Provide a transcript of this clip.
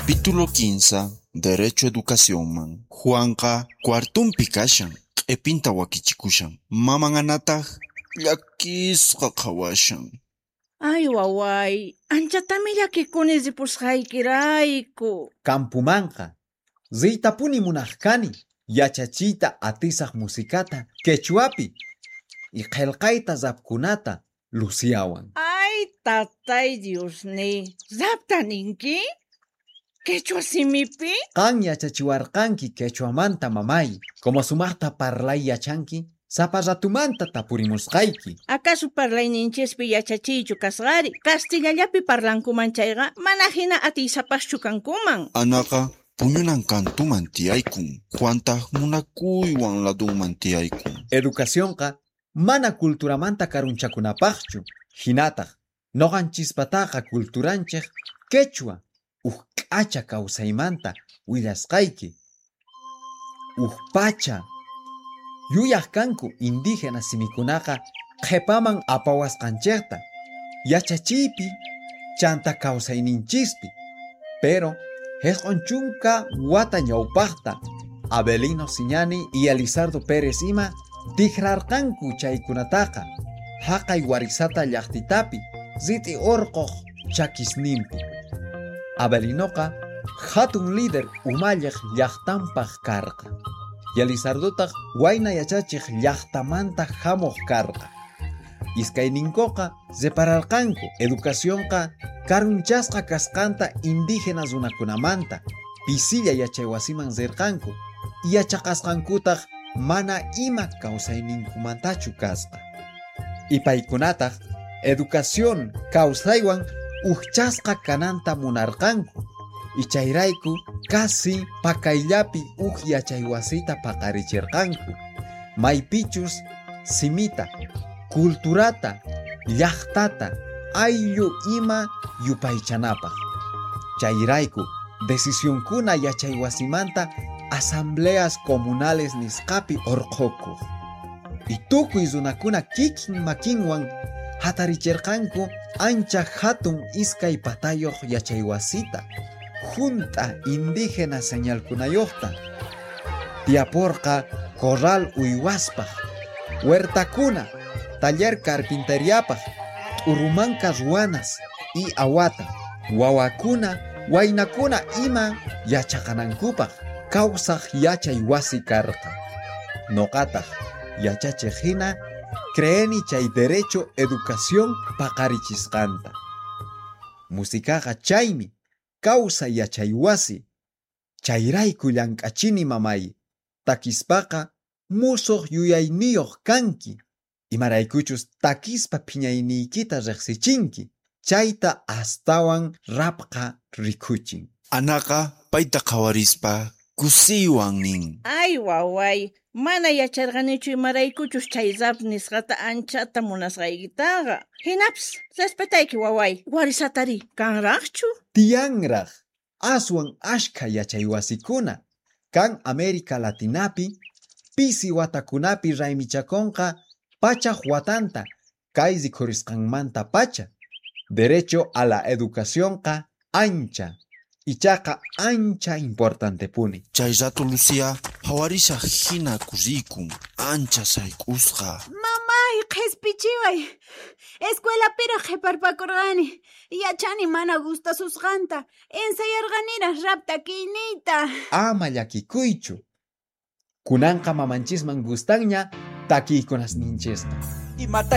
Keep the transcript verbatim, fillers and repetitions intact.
Capítulo kinsa. Derecho Educacionman. Juanqa cuartumpi kashan, q'ipinta wakichikushan. Maman Anataq llakisqa qhawashan. Ay, waway, anchatami llakikuni ripusqaykirayku. Campumanqa riytapuni munaq kani yachachiyta atisaq musikata quechuapi y qillqayta rapkunata Luciawan. Ay, tatay Diosniy, rapta ninki? Quechua simipi? Qan yachachiwarqanki quechuamanta mamay, como sumaqta parlay yachanki, sapa ratumanta tapurimusqayki. Acaso parlayninchispi yachachiychu kasqari? Castillallapi parlankuman chayqa, mana hina atiysapaschu kankuman. Anaqa puñunan kantuman tiyaykun, Juantaq munakuywan ladunman tiyaykun. Educacionqa mana culturamanta karunchakunapaqchu, hinataq noqanchispataqa culturanchik quechua uj k'acha kawsaymanta willasqayki. Uj pacha yuyaq kanku indígena simikunaqa qhipaman apawasqanchikta yachachiypi chanta kawsayninchispi. Pero jisq'un chunka wata ñawpaqta Abelino Siñani y Elizardo Pérez ima tikrarqanku chaykunataqa haqay Warisata llaqtitapi rit'i urquq chakisninpi. Abelinoqa hatun líder umalliq llaqtanpaq karqa. Y Elizardotaq wayna yachachiq llaqtamanta hamuq karqa. Iskayninkuqa repararqanku educacionqa karunchasqa kasqanta indígena runakunamanta pisilla yachaywasiman rirqanku yachaqasqankutaq mana ima kawsayninkumantachu kasqa. Y paykunataq educación kawsaywan ujchasqa kananta munarqanku. Y chayrayku casi pakayllapi uj yachaywasita paqarichirqanku. Maypichus simita, culturata, llaqtata, ayllu ima yupaychanapaq. Chayrayku decisionkuna yachaywasimanta asambleas comunales nisqapi urqukuq. Y tukuy runakuna kikin makinwan hatarichirqanku ancha hatun iskay patayuq yachaywasita, junta indígena señalkunayuqta. Tiyaporqa corral uywaspaq, huertakuna, taller carpinteriapaq, t'urumanka ruwanas y awata, wawakuna, waynakuna ima yachaqanankupaq kawsaq yachay wasi karqa. Noqataq yachachiq hina creeni chay derecho educación paqarichisqanta. Musikaqa chaymi kawsay yachay wasi. Chayrayku llank'achini mamay, takispaqa musuq yuyayniyuq kanki. Imaraykuchus takispa phiñayniykita riqsichinki, chayta astawan rapqa rikuchin. Anaqa payta qhawarispa kusiywan nin. Ay, waway, mana yacharqanichu imaraykuchus chay rap nisqata anchata munasqaykitaqa. Hinapis, respetayki waway, Warisatari kanraqchu? Tiyanraq, aswan ashkha yachaywasikuna. Kan América Latinapi, pisi watakunapi raymichakunqa pachaj watanta kay rikhurisqanmanta pacha. Derecho a la educacionqa ancha, ichaqa ancha importantepuni. Chay rato Lucía phawarishaq hina kusikun, ancha sayk'usqa. Mamay, qhispichiway. Escuelapiraq qhiparpakurqani. Yachani mana gustasusqanta. Ensayarqaniraq rap takiyniyta. Ama llakikuychu. Kunanqa mamanchisman gustanña takiykunasninchisqa. Imata